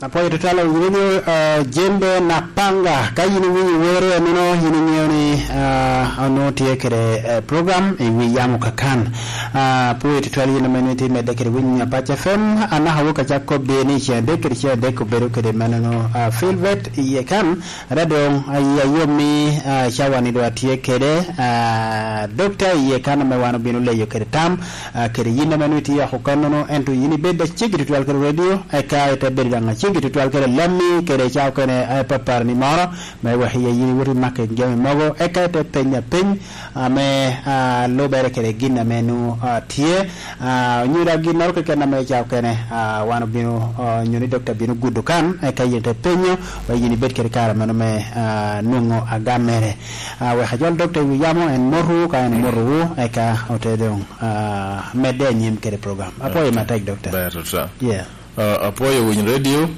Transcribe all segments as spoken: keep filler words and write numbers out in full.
Apwoyo tutwal awinyo ni, ah, Jembe na Panga. Ka yin iwinyo woro enono, yin iŋeo ni, ah, onwoŋo tye kede, eh, program i wi yamo kakan. Ah, apwoyo tutwal yin ame nwoŋo itye medde kede winyo Apac F M. Anaka wok acak kobbi ni ceng adek kede ceng adek obedo kede menono, ah, Filbert iye kan. Ada doŋ, ah, i ayom ni, ah, cawa ni doŋ atye kede, ah, dokta iye kan ame wan obino leyo kede tam, ah, kede yin ame nwoŋo itye oko kannono, ento yin ibed aceggi tutwal kede radio, eka ite bedo daŋ aceggi tutwal kede lammi kede ca okene, eh, papar ni moro, me wek iye yin iwot i mako jami mogo, eka ite penya peny ame, ah, lubere kede gin ame nwoŋo, ah, tye, ah, onyo daŋ ginnoro keken ame ca okene, ah, wan obino, ah, onyo ni dokta bino gudo kan, eka yin ite penyo, wek yin ibed kede kare mano me, ah, nwoŋo agam mere. Ah, wek ajol dokta i wi yamo, en motowu, ka en motowu, eka ote doŋ, ah, medde anyim kede program. Apwoyo matek, dokta. Ber, doctor. Yeah. Ah, apwoyo winy radio,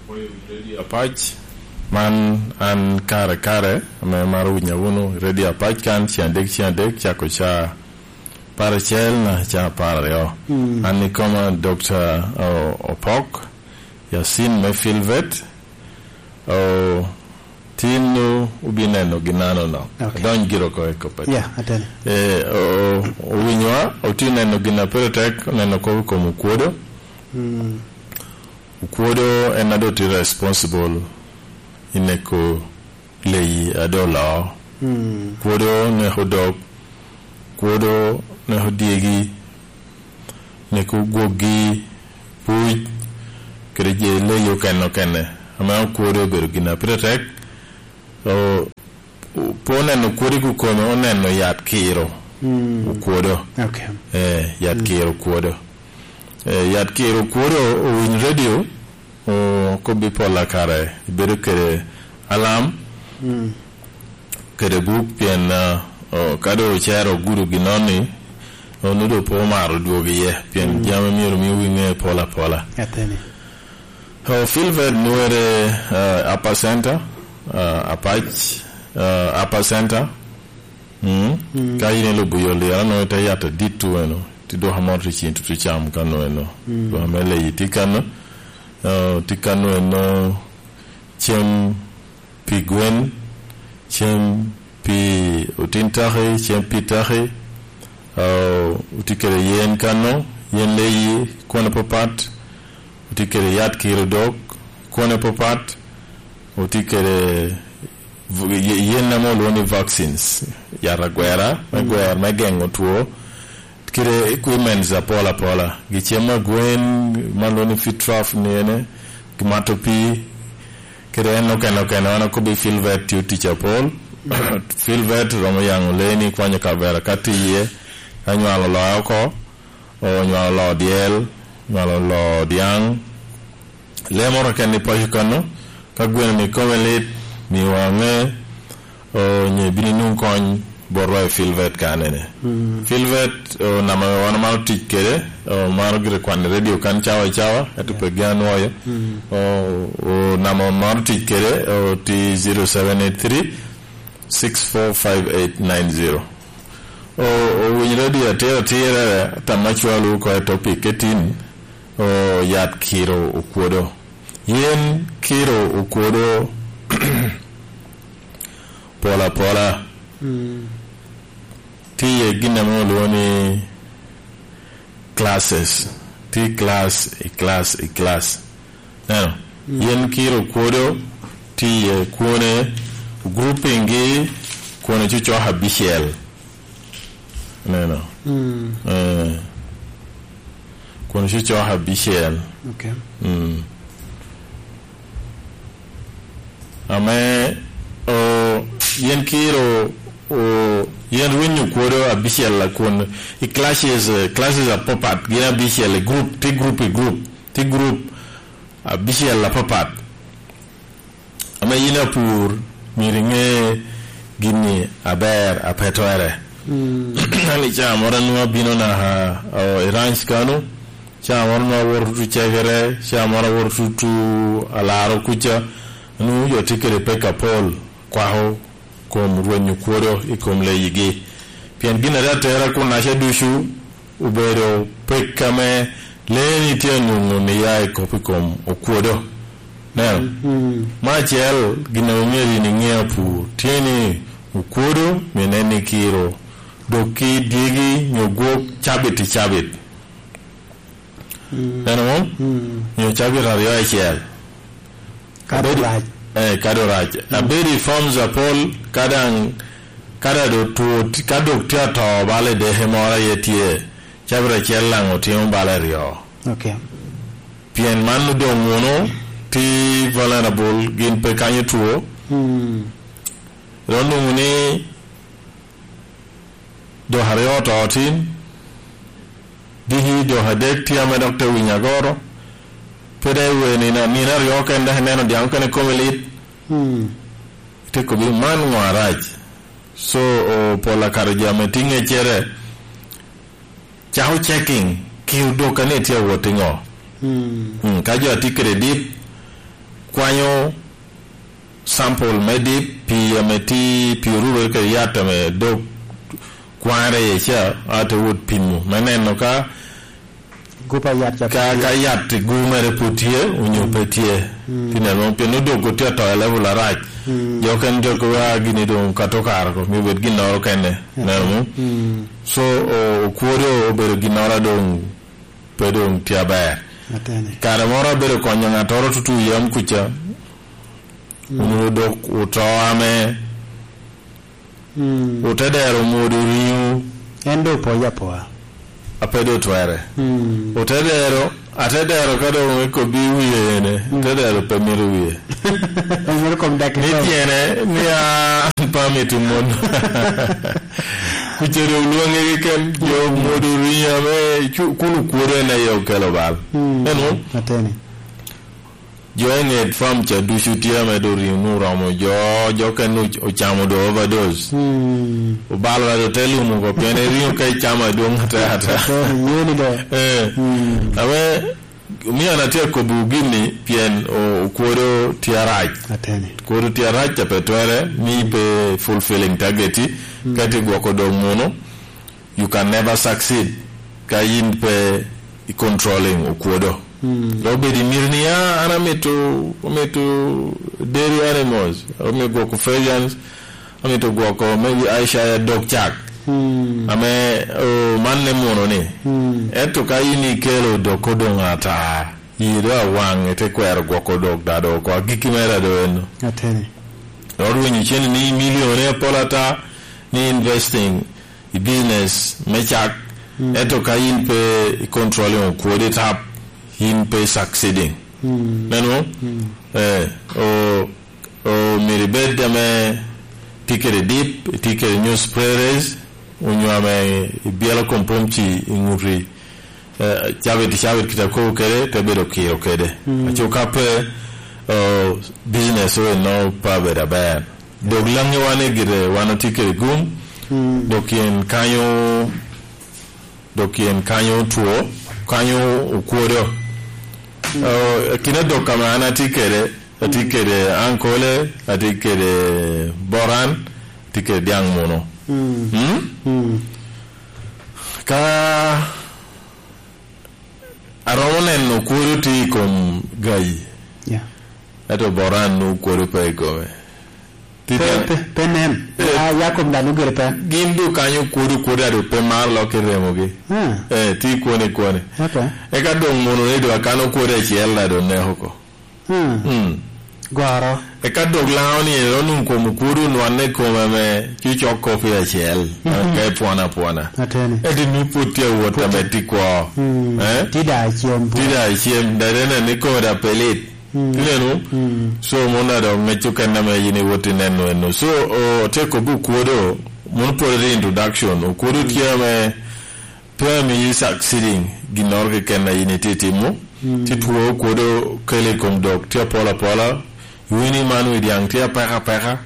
apwoyo winy radio Apac. Man an kare kare, ame maro winya wunu radio Apac kan, ceng adek, ceng adek, cako ca paracel na ca apar aryo. Mm. An ikoma dokta O-, Opok, Yasin me Filvet, o, tin nu ubineno ginano no. Okay. Adony giro oko i koppere. Yeah, atene. Eh, o, o, owinyowa, otye neno gin a pire tek, oneno kop i kom okwodo. Mm. Okwodo en a doŋ tye responsible i neko leyi a doŋ oloo. Mm. Kwodo neko dog, kwodo neko dyegi, neko gwoggi, puc, kede je leyi okene okene. Ame okwodo obedo gin a pire tek. O, o, pe oneno okwodo i kome, oneno yat kiro. Mm. Okwodo. Okay. Eh, yat, mm, kiro okwodo. Eh, yat kiro okwodo owiny radio, o, kobbi pol a kare, ibedo kede alam, mm, kede buk, pien, ah, o, ka doŋ ocero ogudo ginoni, onwoŋo doŋ pe omaro dwogo iye, pien, mm, jami myero mi wiŋe pol apola. Ateni. O, Filbert nwere, ah, Upper Center, ah, Apac, ah, Upper Center. Mm. Mm. Ka yin ilubo yo lira, nwoŋo ite yato adit tu eno, ti dwoka moro ti cin tutu cam ka nwoŋo eno. Mm. Dwoka me leyi ti kano, ah, ti kano eno cem pi gwen, cem pi otin taki, cem pi taki, ah, otye kede yen kano, yen leyi, kwone papat, otye kede yat kiro dog, kwone papat, otye kede v-, ye-, yen ame olwoŋo ni vaccines, yat agwera, me, mm, gwero, me geŋo two, kede equipments apol apola, gi cem a gwen, ma lwoŋo ni feed trough ni ene, gi mato pii, kede en okene okene, wan okobbi Filbert tye tic apol. Filbert romo yaŋo lee ni kwanyo kavera ka tye iye, ka nywalo loo oko, onywalo loo dyel, nywalo loo dyaŋ, lee moro keken i paco kano, ka gweno ni kome lit, miwa aŋe, o, onyo ibino inwoŋo kony botwa i Filbert kanene. Mm. Filbert, o, namba ame wan omaro tic kede, o, maro gire kwan i radio kan cawa i cawa, ento, yeah, pe gin anwoyo. Mm. O, o, namba ame maro tic kede, o, tye zero seven eight three, six four five eight nine zero. O, owiny radio atir atirere, tam acwalo oko i topic ketin, o, yat kiro okwodo. Yen kiro okwodo pol apola. Mm. Tye iye gin ame olwoŋo ni classes. Tye class i class i class. Neno? Mm. Yen kiro okwodo tye iye kwone, grouping gi kwone cocok abicel. Neno? Mm. Eh. Kun cocok abicel. Okay. Mm. Ame, o, yen kiro, o, yen rwenyo kwodo abicel a kun i classes, eh, classes apapat, gin abicel i group, ti group i group, ti group abicel apapat. Ame yin apur, myero iŋe gin-ni aber a pe twerre. Mm. An i caa moro anwoŋo abino naka, o, i ranch kano, caa moro nwoŋo awoto tutu cegere, caa moro awoto tutu alaro kuca, anwoŋo jo tye kede pek apol, kwako kom rwenyo kwodo i kom leyigi. Pien gin a te atera kunnaca ducu obedo pek ame lee-ni tye anwoŋo ni ya i kop i kom okwodo. Neno, mm, me acel, gin a omyero in iŋe apur, tye ni okwodo myero nen ni kiro, dok ki dyegi nyo gwok cabit i cabit. Mm. Neno mo? Mm. Nyo cabit aryo acel. Kadi abed, orac. Eh, kadi orac. Mm. Abed i farms apol, ka daŋ, ka daŋ dok two, ka dok tye atoo bala i deke moro aye tye, cabit acel daŋ otimo bala aryo. Ok. Pien man odoŋ wunu ti vulnerable, gin pe kanyo two. Mm. Ro nwoŋo ni dok aryo oto tin, diki dok adek tye ame dok te winyo agoro, pe daŋ iwe nino, nino aryo kene dok ineno dyaŋ okene kome lit. Mm. Ite kobbi, "Man ŋo arac?" So, o, pol akato jo ame tye ŋeccere, cako checking, ki odok ane tye awot i ŋo. Mm. Mm, ka jo a tye kede dip, kwanyo sample me dip, pii ame tye, pii orure kede yat ame dok kwanre iye ca, a te wot pimo, me neno ka gup a yat ca ka, pwod tye. Ka yat i gu mere pwod tye, onyo pe tye. Mm. Ti neno, pien odok otye ato i level arac. Mm. Jo okene dok wa gini doŋ kato kare ko, mi bed ginnoro kene. Mm. Neno mo? Mm. So, o-, okwodo obedo ginnoro a doŋ pe doŋ tye aber. Atene. Kare moro abedo konyo ŋattoro tutu yam kuca. Mm. Onwoŋo dok oto ame Mm. Otedero omwodo riŋo. En doŋ opoyo apoya. A pe doŋ twere. Mm. Otedero, atedero ka doŋ ekobbi wie ene, mm, otedero pe mito wie. Pe mito kom dak ni ikom. Tyene, ni a, an pe amito mon. Kuca doŋ olwoŋe keken, jo omwodo riŋo ame cu-, kun okwodo en aye okelo bal. Mm. Eno? Ateni. Jo i ŋet farm ca ducu tye ame doŋ riŋo oromo jo, jo okene oc-, ocamo doŋ overdose. Hmm. Obalo ado te lum oko, pien riŋo ka icamo adwoŋ ata ata. Ateni, yeni do. Eh. Hmm. Ame, omio an atye akobo gini, pien o-, okwodo tye arac. Ateni. Okwodo tye arac, ca pe twere, mi pe fulfilling target-ti, hmm, ka itye gwoko dog muno. You can never succeed ka yin pe i controlling okwodo. Mm. Dok bed i miti ni, "Ah, an amito, amito dairy animals, amito gwoko Friesians, amito gwoko maybe Ayrshire dog cak." Mm. Ame, oh, man ne muno ni. Mm. Ento ka yin ikelo dok odoŋ ata, yi do awaŋ ite kwero gwoko dog da do oko, agikki mere do eno. Ateni. Dok rwenyo cene ni milione apol ata ni investing i business me cak, mm, ento ka yin pe i controlling okwodo i tap, yin pe succeeding. Mm. Neno? Mm. Eh, o, o myero ibed ame tye kede dip, tye kede nyo sprayers, onyo ame ibyelo kom pwomci i ŋuti, eh, cabit i cabit kite akobo kede, te bedo kiro kede. Mm. Aco ka pe, eh, business o eno pe abedo aber. Dok laŋiwa ni gire wan otye kede gum, mm, dok yen kanyo, dok yen kanyo otwo, kanyo okwodo. Mm. Eh, kine dok ame an atye kede, atye, mm, kede ankole, atye kede boran, atye kede dyaŋ muno. Mm. Mm? Mm. Ka aromo neno okwodo tye i kom gayi. Yeah. Ento boran nwoŋo okwodo pe i kome. Ti pe, pe, pe nen. Eh. A, ya kom dano gire pe. Gin dok kanyo okwodo, okwodo a dok pe maro lok i remogi. Ah. Eh, ti kwone, kwone. Okay. Eka doŋ mono ni dok akano okwodo acel a dok neko oko. Hmm. Hmm. Goro. Eka dok laŋo ni en onwoŋo kom okwodo onwanne i kome ame cucok kopi acel, mhm, ka epwon apwona. Ateni. Ento ni pwod tye awot ame tye kwo. Hmm. Eh? Tye da acem pwod. Tye da acem, da dene ni kome da pe lit. Hmm. Ineno? Hmm. So, mon da dok ŋec okene ame yin iwot ineno eno. So, o, tye kobbi okwodo, mon pwod ri introduction. Okwodo tye ame pe amiyi succeeding ginnoro keken a yin itye timo, mm, ti two okwodo kele i kom dok, tye apol apola, iwini man wi dyaŋ tye apeka apeka,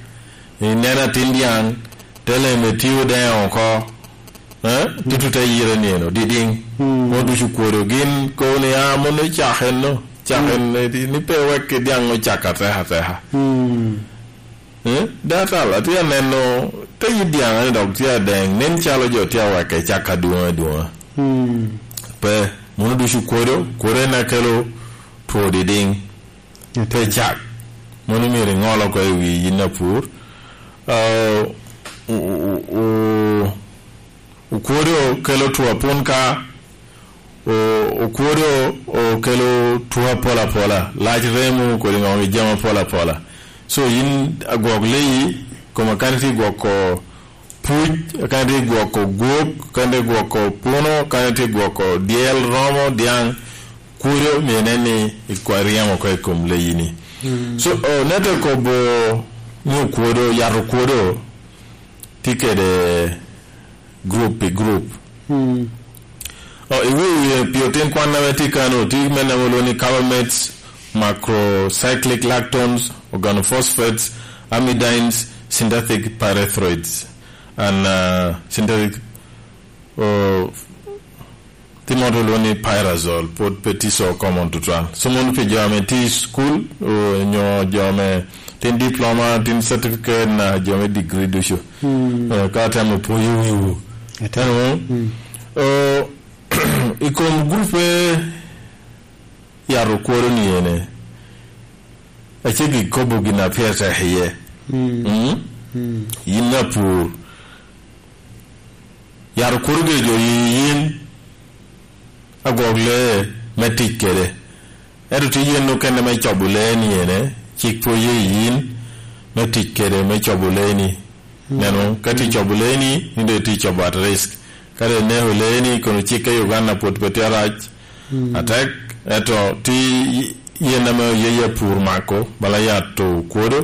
ineno atin dyaŋ, te leme tye odeŋo oko, eh? Mm. Tutu te yire nino, didiŋ. Mm. Mon ducu okwodo, gin kobo ni, "Ah, mon ocak enno, cak, mm, en, ni pe wek dyaŋ ocak ateka ateka." Mm. Eh, datal, atye aneno, te yit dyaŋ ni dok tye adeŋ, nen calo jo tye aweke cak adwoŋ adwoŋa. Hmm. Pe, mono ducu kwodo, kwodo en akelo two didiŋ. Ate. Pe cak. Mano myero iŋol oko i wi yin apur. Ah, o-, o-, o-, okwodo kelo two apun ka, o-, okwodo okelo two apol apola, lac remo kodi ŋo, jami apol apola. So yin agwok leyi, koma kani tye gwoko puc, kani tye gwoko gwok, kani tye gwoko puno, kani tye gwoko dyel, romo, dyaŋ, kwodo myero inen ni ikwa-, iryemo oko i kom leyi-ni. Mm. So, oh, nete kobo ni okwodo, yat okwodo tye kede group pi group. Mm. Oh, i wi, i wi, pi otin kwan ame tye kano, tye me namo lwongo ni carbamates, macrocyclic lactones, organophosphates, amidines, synthetic pyrethroids, and, uh, synthetic, uh, tye mo lwongo ni pyrazole, pwod pe tye so common tutwal. So, mono pi jo ame tye i school, uh, nyo jo ame tin diploma, tin certificate, na jo me degree ducu. Hmm. Eh, ka atemo pwoyo wiwu. Ate. Eno, hmm, eh, i kom grupe yat okwodo ni ene, aceggi kobo gin a pire tek iye. Hmm. Mm? Hmm. Yin apur. Yat okwodo gire jo yi yin agwok lee me tic kede. Ento tye yen okene me cobo lee ni ene, cik pwod ye yin me tic kede me cobo lee ni. Mm. Neno, ka tye cobo lee ni, ni doŋ itye cobo at risk. Ka doŋ ineko lee ni, kono cik ka Uganda pwod pe tye arac. Mm. Atek, ento tye yen ame oye apur mako, bala yat okwodo,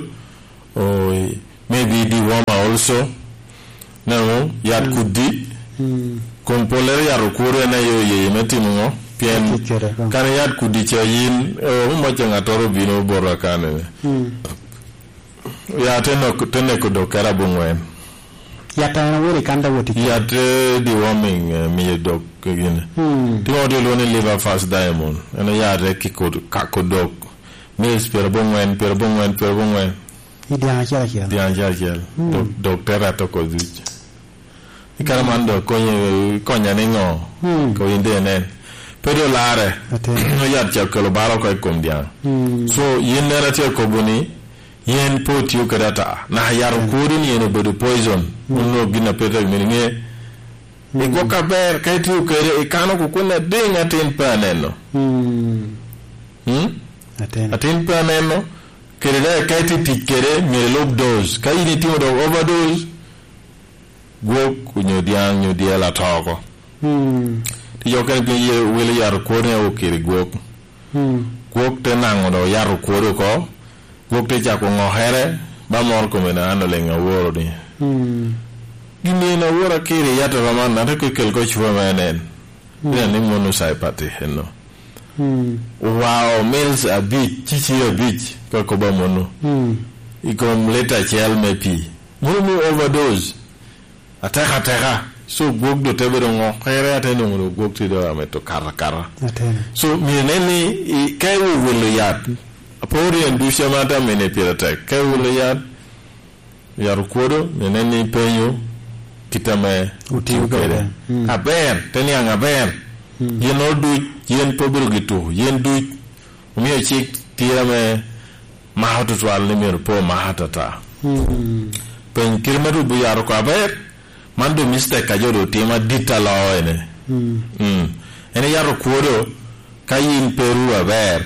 oh, maybe dewormer also. Neno, yat, mm, kudi. Mm. Kom pollere yat okwodo en aye oye me timo ŋo? Pien, me tic kede, mm, kan yat kudi ca yin, eh, omoc a ŋattoro obino bota kanene. Mm. Yat te nok-, te neko dok kede aboŋwen. Yat a en awot i kan te wot i kare. Yat, eh, deworming, eh, miyo dok kegine. Mm. Timo te lwongo ni liver fast diamond. En yat te kiko, kako dok. Mils pyeraboŋwen, pyeraboŋwen, pyeraboŋwen. I dyaŋ acel acel. Dyaŋ acel acel. Mm. Dok, dok te reto oko duc. I kare man dok konye, konya ni ŋo? Mm. Ko in de nen. Pe doŋ larre. Atin. Yat ca okelo bal oko i kom dyaŋ. Mm. So, yin nera tye kobo ni, yen pe otio kede ata. Naka yat, mm, okwodo ni en obedo poison. Mm. Onno gin a pe tek mini ŋe. Mm. Igwok aber, ka itio kede, ikano kukwene adiŋ atin pe aneno. Mm. Mm? Atin. Atin pe aneno. Kede daŋ ka itye tic kede, myero ilub dose. Ka in itimo dok overdose, gwok onyo dyaŋ onyo dyel ato oko. Mm. Tye jo okene piny ye wilo yat okwodo ni okiri gwok. Mm. Gwok te naŋo dok yat okwodo oko. Gwok te cako ŋokere, ba moro kome na an oleŋ aworo ni. Mm. Gin eni aworo akiri yat oromo an, ate kwe kel ko cuwa me nen. Mm. Ina ni mono saipati eno. Mm. Owao mils abic, cicir abic, ka koba mono. Mm. I kom lita acel me pii. Mono mi overdose. Ateka ateka. So gwok do te bedo ŋokere, ate nwoŋo do gwok ti do ameto kara kara. Atene. So myero nen ni i, ka iwowelo yat, aporo en ducu ame ate amene pire tek. Ka iwowelo yat, yat okwodo, myero nen ni ipenyo kit ame otio kede. Mm. Aber, te niaŋ aber. Mm. Yen oro duc, yen pe obedo gi tuko, yen duc. Omio cik tye ame mako tutwal ni myero pe omako atata. Mm. Peny kite me rubo yat oko aber, man doŋ mistake a jo doŋ timo adit aloo ene. Mm. Mm. En yat okwodo, ka yin pe ru aber,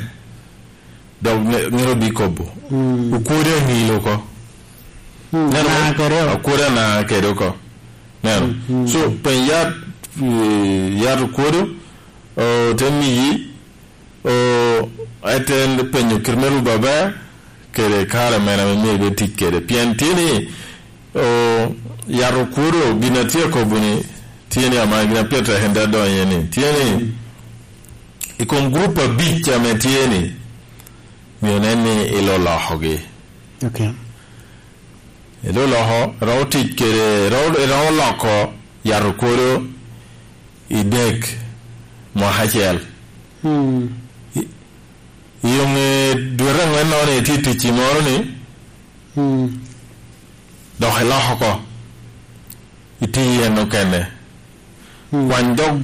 dok me-, mito bikobo. Mm. Okwodo aŋil oko. Mm. Neno, na kede oko. Okwodo ana kede oko. Neno. Mm, mm. So, peny yat, eh, yat okwodo, oh, te miyi, o, eten penyo kite me rubo aber, kede kare mene ame myero ibed tic kede. Pien tye ni, o, yat okwodo, gin a tye akobo ni, tye ni ama gin a pire tek en te donyo iye ni, tye ni, i kom gurup abic ame tye ni, myero nen ni ilolokogi. Ok. Edo loko, romo tic kede, romo, romo loko yat okwodo i dek mwaka acel. Mm. I, i ŋe dwete aŋwen nono itye tic i moro ni, mm, dok iloko oko. Itye i en okene. Mm. Kwany dok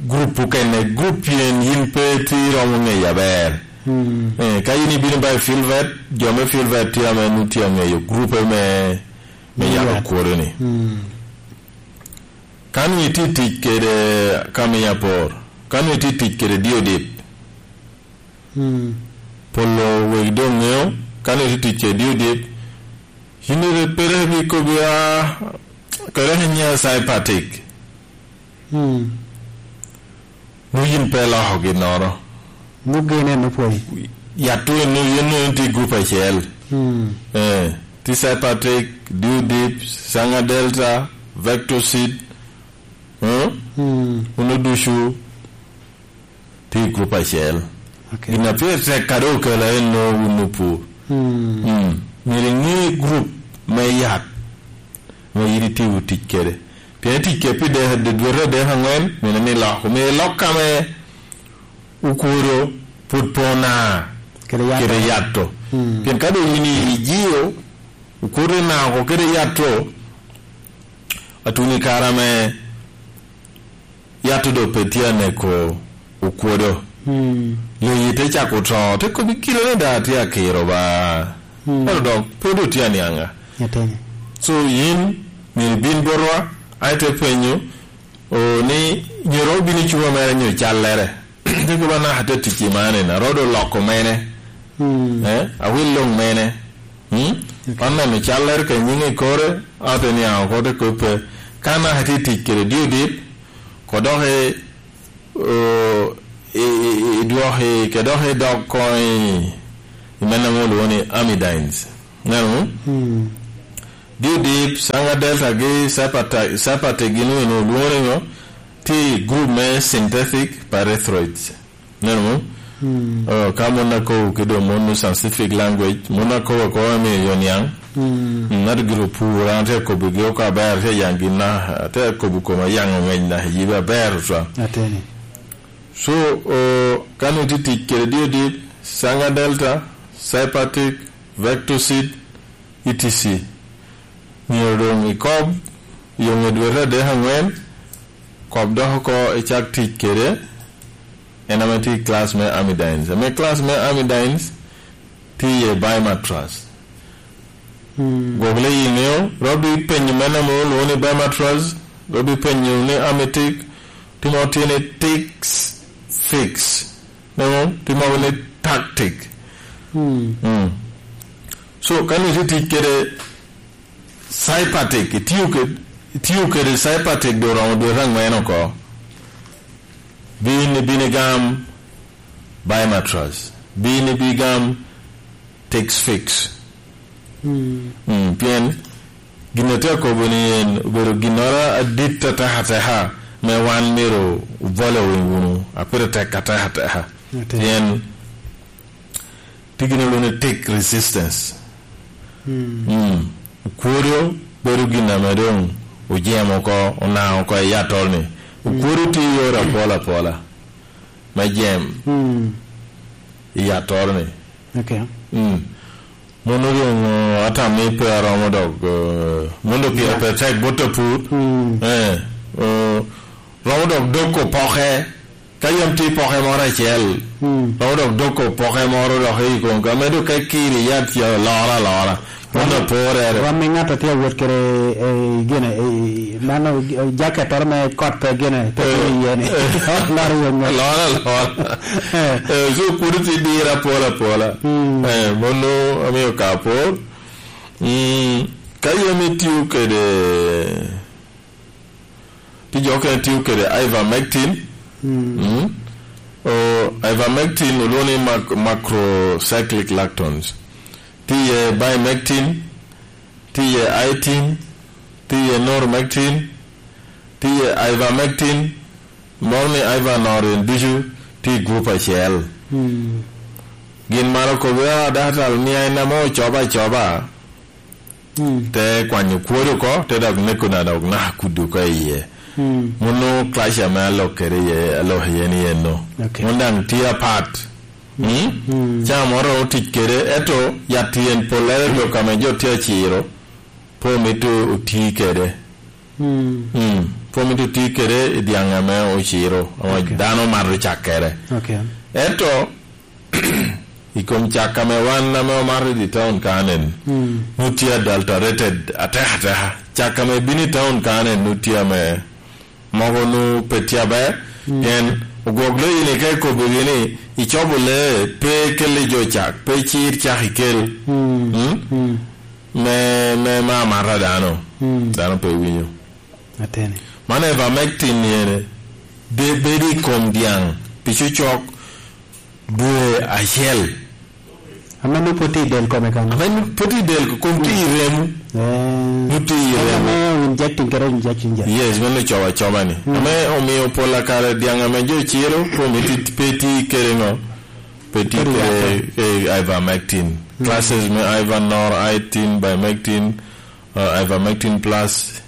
gurup okene, gurup pien yin pe itye iromo ŋeye aber. Mm. Eh, ka in ibino ba i Filvet, jo me Filvet tye ame nu tye aŋeyo grupe me, me yat. Yat okworo-ni. Mm. Ka nu itye tic kede, ka miyo apor, ka nu itye tic kede Diodip, mm, polo wegi doŋ ŋeo, ka nu itye tic kede Diodip, yin iri pe rik ibikobi a, kede ka nyiŋ Cypatic. Mm. Nu yin pe iloko ginnoro. Nu gin en opwony. Yat tu nu yin nu yin tye i grup acel. Mm. Eh, tye Cypatic, Diodip, Sanger Delta, Vectosid, mm? Mm. Unu ducu tye i grup acel. Ok. Gin a pire tek kadi okelo en nwoŋo wun opur. Mm. Mm. Myero iŋe grup me yat ame yin itye tic kede. Pien tic kede pi de-, de-, dwete adek aŋwen, myero ni lok. Omyero ilok ame okwodo pwod pe ona kede yat kede to. Yat to. Mm. Pien ka doŋ yin ijio okwodo ona oko kede yat to, atuni kare ame yat to doŋ pe tye aneko okwodo. Mm. Leyi te cako to, te kobbi kite ni daŋ atye akiro ba. Mm. Ento dok pe doŋ tye aniaŋa. Ateni. So yin myero ibin botwa, a ite penyo, o, ni nyero obin i cuba mere nyo callere. Te kobba naka te tic i man en, arodo loko mene. Mm. Eh? Awil loŋ mene. Hmm? Ok. Wan neno callere ka nyiŋe i kore, ate niaŋ oko te kobbe. Ka naka tye tic kede Diodip, ko dok i, o, i, i, i dwok i, ke dok i dog koŋ i, i mene ame olwoŋo ni amidines. Neno? Hmm. Diodip, Sanger Delta gi Cypata-, Cypatic gin eno olwoŋo ni ŋo? Tye i group me synthetic pyrethroids. Neno mo? Hmm. Oh, ka mon akobo kede mon me scientific language, mon akobo akoba me yo niaŋ. Hmm. Mm, ŋat gire opur, an te kobo gi oko aber, te yang gin na, te kobo koma yang ŋec na, yibe aber twa. Ateni. So, oh, ka nu tye tic kede Diodip, Sanger Delta, Cypatic, Vectosid, E T C. Myero doŋ ikob, i ŋe dwete adek aŋwen, kob dok oko icak tic kede, en ame tye i class me amidines. Ame class me amidines, tye iye bimatras. Hmm. Gwok le i ŋeo, robi penyo mene ame olwoŋo ni bimatras, robi penyo ni amitic, timo tye ni tics fix. Neno, tye mogo ni tactic. Hmm. Mm. So, ka ni tye tic kede Cypatic, itiyo ked-, itiyo kede Cypatic doŋ oromo dwete aŋwen oko. Bin, bin igam bimatras. Bin, bin igam Tex Fix. Mm. Mm, pien gin a tye akobo ni en obedo ginnoro adit atek ateka me wan myero obole wunu, a pire tek atek ateka. Atek. Pien tye gin olwoŋo ni tick resistance. Mm. Mm. Okwodo bedo gin ame doŋ ojem oko, onaŋ oko i atol-ni. Okwodo tye i yore apol apola me jem. Mm. I atol-ni. Ok. Mm. Mono doŋ, eh, atam ni pe aromo dok, eh, mono doŋ pire pe tek bot apur. Mm. Eh, eh, romo dok dok opoke. Ka yam tye poke moro acel, mm, romo dok dok opoke moro dok i kom ka, medo ka kiri yat ca loro alora. Mono aporere. Rom i ŋat a tye awot kede, eh, gine, eh, mano, eh, jacket oro me kot pe gine, pe, eh, tye iye ni. Eh. Loro i wang ŋat. Loro alora. Eh. Eh, so kuno tye diro apola apola. Mm. Eh, mono amio ka apor. Mm, ka yam itio kede, pi jo okene tio kede ivermectin. Mm. Mm. O, ivermectin olwoŋo ni mac-, macrocyclic lactones. Tye iye bimectin, tye iye itin, tye iye normectin, tye iye ivermectin, moro ni ivernorin ducu tye i gurup acel. Mm. Gin maro kobo, "Ah, daktar, mia en ame ocoba acoba." Mm. Te kwanyo kwodi oko, te dok neko na dok naka kudi oko i iye. Mm. Mono clash ame alok kede iye, alok iye ni eno. Ok. Mon daŋ tye apat. Mm? Mm. Ca moro romo tic kede, ento yat yen pollere dok ame jo tye aciro, pe omito oti kede. Mm. Mm. Pe omito oti kede i dyaŋ ame ociro, ame, ok, dano mato cak kede. Ok. Ento, I kom cak ame wan ame omato i taun kanen, mm, nu tye adulterated atek ateka. Cak ame bino i taun kanen nu tye ame mogo nu pe tye aber, mm, pien ogwok lo yin ika ikobbigi ni icobo lee, pe ikelli jo cak, pe icir cak ikel. Mm. Mm? Mm. Me, me, me amata dano. Mm. Dano pe winyo. Ateni. Man ivermectin ni ene, de bedo i kom dyaŋ pi cocok dwe acel. Ame nwoŋo pwod tye i del kome kan? Ame nwoŋo pwod tye i del, kom tye i remo. Eh. Nwoŋo tye i remo. Ame injecting kede injection ja. Yes, meno cobo acoba ni. Mm. Ame omio pol a kare dyaŋ ame jo ciro, kom iti-, pe tye kede ŋo? Pe tye kede, kede yatte, eh, ivermectin. Mm. Classes me Ivernor, itin, ivermectin, uh, ivermectin plus,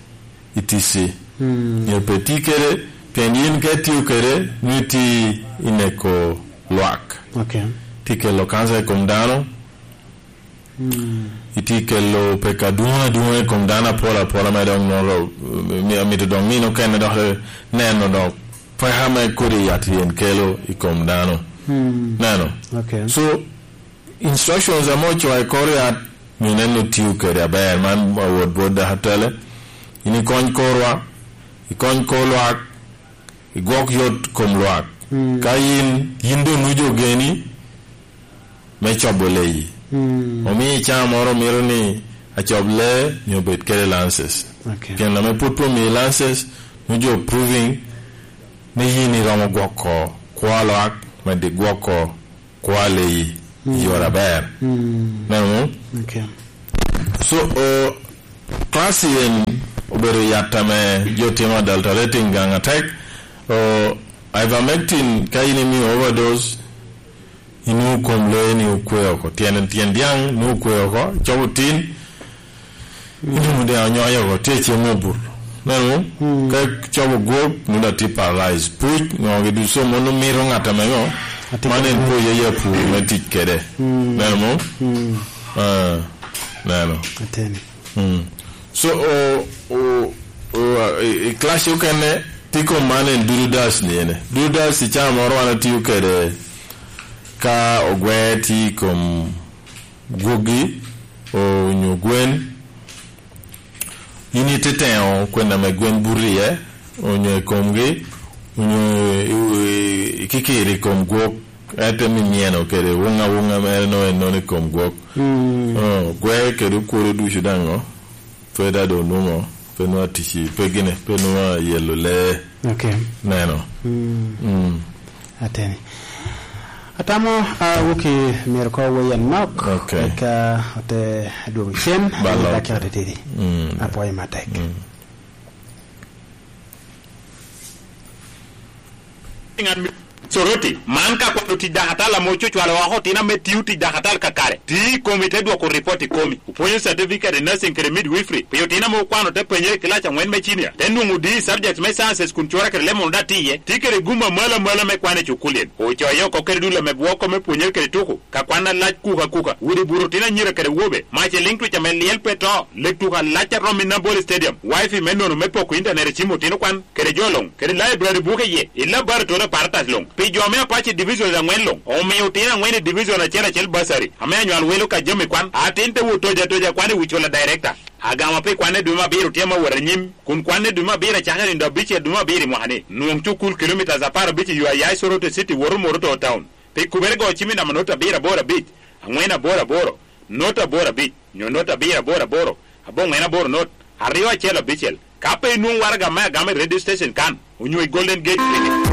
i T C. Mm. Nyo pe ti kede, pien yin ka itio kede, nyo ti i neko lwak. Okay. Ti kelo kanca i kom dano. Mm. Iti kelo peko adwoŋ adwoŋ i kom dano apol apol ame dok nwoŋo, mi-, amito dok nino okene dok neno dok peko ame kodi yat yen kelo i kom dano. Mm. Neno? Okay. So, instructions ame ocoo i kor yat, myero nen ni otio kede aber. Man awot bot dakatale. Yin ikony korwa, ikony kor lwak, igwok yot kom lwak. Mm. Ka yin, yin doŋ nujo geni me cobo leyi. Mm. Omii caa moro mito ni acob lee, myero obed kede lances. Okay. Pien ame pwod pe omii lances, nujo proving ni yin iromo gwoko kwo lwak, medi gwoko kwo leyi i yore aber. Mm. Neno? Okay. So, uh, class en obedo yat ame jo timo adulterating gaŋ atek. Uh, ivermectin, ka in imio overdose, inwoŋo kom lee ni okwe oko. Tyen, tyen dyaŋ ni okwe oko, cobo tin, Ituno dyaŋ onyoyo oko, tye cem obur. Neno? Mm. Ka cobo gwok, nwoŋo daŋ tye paralyzed. Puc, ŋo gi ducu, mano mito ŋat ame ŋo? Atye man en kede puc aye apur me tic kede. Mm. Neno mo? Mm. Ah, neno. Ateni. Mm. So, o, o, o, i, i class okene, tye kom man en dudu dash ni ene. Dudu dash i caa moro wan atio kede ka ogwe tye i kom gwogi, onyo gwen, in ite teŋo kwena me gwen buto iye, onyo i komgi, onyo i, i, i kikiro i kom gwok, ento mi myeno kede wuŋ awuŋa mere nongo en nono i kom gwok. Mm. Oh, gwe kede okworo ducu daŋ o, pe daŋ doŋ onwoŋo, pe nwoŋo atic i, pe gine, pe nwoŋo ayelo lee. Okay. Neno. Mm. Mm. Ateni. Atamo, ah, woki myero ko wei anok, okay, eka ote dwogo cen, ba ame lok. Daki ote tidi. Mm. Apwoyo matek. Mm. Soroti, man ka kwano tic dakatal ame ococwalo oko otino ame tio tic dakatal kakare, ti i komi te dwoko ripot i komi. Opwonyo certificate i nursing kede midwifery pi otino ame okwano te penyere i kilac aŋwen me cinia, te nwoŋo D E subject me sciences kun cura kede leb mono daŋ tye iye, tye kede gum amalo amalo me kwan i cukul-li. Ocoyo oko kede dul ame bwoko me pwonyere kede tuko, ka kwan alac kuka kuka, udi buto otino anyira kede wobe, mac eliŋ twic ame lyel pe to, lek tuko alac a romo i Nambole Stadium, wifi me nono me poko intanet i cim otino kwan, kede jo luŋ, kede library buke iye, i laboratory apparatus luŋ. Pi jo me Apac i divisions aŋwen luŋ, omio otino aŋwen i division acel acel bursary, ame anywal welo ka jami kwan, atin te wot tojo atoja kwan i wi cula director. Agama pi kwan i dwe me abiro tye ame wot anyim, kun kwan i dwe me abiro acakere nino abicel dwe me abiro i mwaka-ni. Nwoŋ cukul kilomitas apar abic i yo aya i Soroti City woto Moroto Town. Pi kubere go cim i namba note abiro aboro abic, aŋwen aboro aboro, note aboro abic, nyo note abiro aboro aboro, aboŋwen aboro note, aryo acel abicel. Ka pe inwoŋo waraga me agama i radio station kan, onyo i Golden Gate Ticket.